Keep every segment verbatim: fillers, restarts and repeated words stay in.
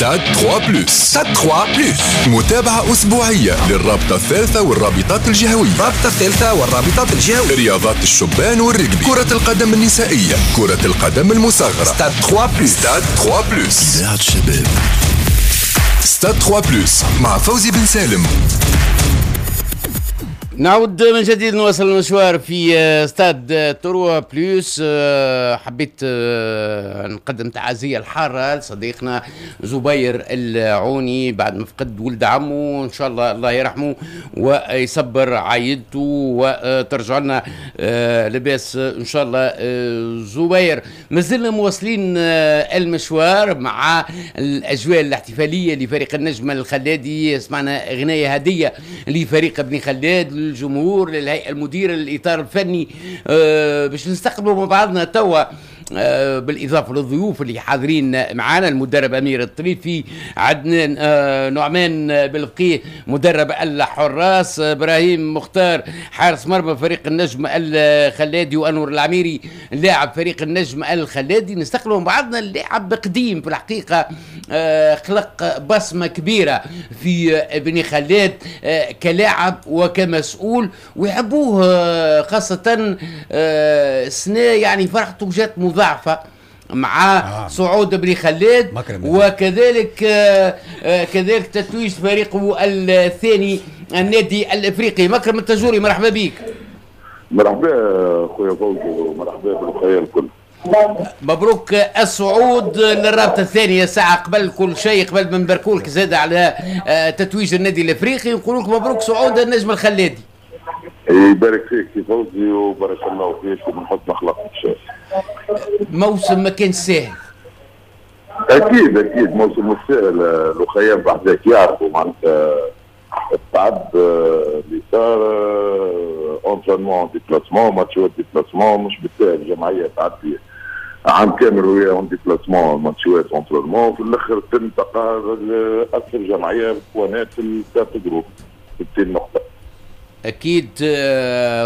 ستاد ثلاثة plus. ستاد ثلاثة plus. متابعة أسبوعية للرابطة الثالثة والرابطات الجهوية. الرابطة الثالثة والرابطات الجهوية. رياضات الشبان والرجبي، كرة القدم النسائية، كرة القدم المصغرة. ستاد ثلاثة plus. ستاد ثلاثة plus. إذاعة الشباب. ستاد ثلاثة plus مع فوزي بن سالم. نعود من جديد، نواصل المشوار في ستاد trois plus. حبيت آه، نقدم تعازية الحارة لصديقنا زبير العوني بعد ما فقد ولد عمه. ان شاء الله الله يرحمه ويصبر عائلته وترجع لنا آه، لاباس ان شاء الله. آه، زبير، مازلنا مواصلين المشوار مع الاجواء الاحتفالية لفريق النجم الخلادي. سمعنا اغنية هديه لفريق بني خلاد، للجمهور، للهيئة المديره، للاطار الفني. آه، باش نستقبلوا مع بعضنا توا آه، بالاضافة للضيوف اللي حاضرين معنا، المدرب امير الطريفي، عدنان آه، نعمان بالفقيه مدرب الحراس، ابراهيم مختار حارس مرمى فريق النجم الخلادي، وانور العميري لاعب فريق النجم الخلادي. نستقبلوا مع بعضنا اللاعب قديم في الحقيقه، خلق بصمة كبيرة في بني خلاد كلاعب وكمسؤول، ويحبوه خاصة السنه، يعني فرحته جات مضاعفه مع آه. صعود بني خلاد وكذلك آه آه كذلك تتويج فريقه الثاني النادي الافريقي. مكرم التاجوري، مرحبا بك. مرحبا خويا فوزي ومرحبا بالخير الكل. مبروك الصعود للرابطة الثانيه. ساعة قبل كل شيء، قبل ما نباركولك زاد على آه، تتويج النادي الافريقي، نقول لك مبروك صعود النجم الخلادي. يبارك فيك سي فوزي وبارك الله فيك ومن حسن اخلاقك. موسم ما كان سهل. اكيد اكيد موسم مش سهل. الاخيان بعد يعرفوا معناتها التعب اللي صار، entraînement، déplacement، ماتشات، déplacement. مش بالسهل جمعية تعدي عام كامل وهي en déplacement، ماتشات، entraînement، في الاخر تنتقى اكثر جمعية بوانات في ال quatre groupes، ستين نقطه. اكيد،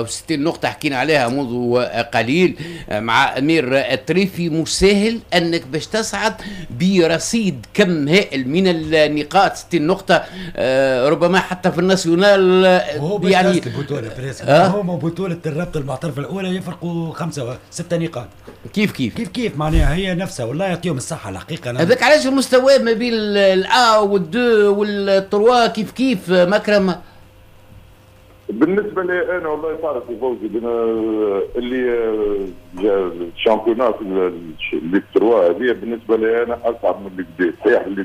وستين آه، نقطة حكينا عليها منذ قليل آه، مع امير الطريفي. مش سهل انك باش تصعد برصيد كم هائل من النقاط، ستين نقطه، آه، ربما حتى في ال national. هو يعني البطولة أه؟ هو بطوله الرابطة المحترفه الاولى يفرقوا خمسة ستة نقاط. كيف كيف. كيف كيف، معناها هي نفسها. والله يعطيهم الصحة الحقيقه. هذاك علاش المستوى ما بين ال un وال deux وال trois كيف كيف، مكرم. بالنسبة لي انا، والله تعرف فوزي، اللي ال championnat Ligue trois هذه بالنسبة لي انا اصعب من Ligue deux. صحيح اللي